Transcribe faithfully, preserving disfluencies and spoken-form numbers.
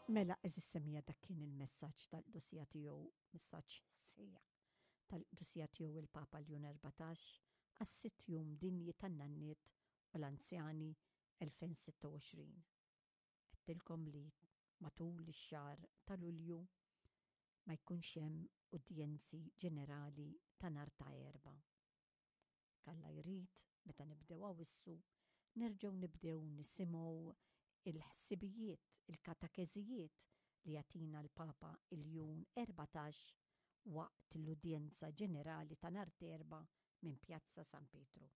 Mela, għeżież semmiegħa, dak kien il-messaġġ tal-Qdusija Tiegħu, messaġġ sija tal-Qdusija Tiegħu il-Papa Ljun Erbatax għas-sitt Jum Dinji tan-Nanniet u l-Anzjani elfejn u sitta u għoxrin. Għedtilkom li matul ix-xahar ta' Lulju ma jkunx hemm udjenzi ġenerali ta' nhar ta' Erbgħa. Jekk Alla jrid, meta nibdew Awissu, nerġgħu nibdew nisimgħu il-ħsibijiet, il-katekeżijiet li jagħtina l-Papa Iljun Erbatax waqt l-udjenza ġenerali ta' nhar Erbgħa minn Pjazza San Pietru.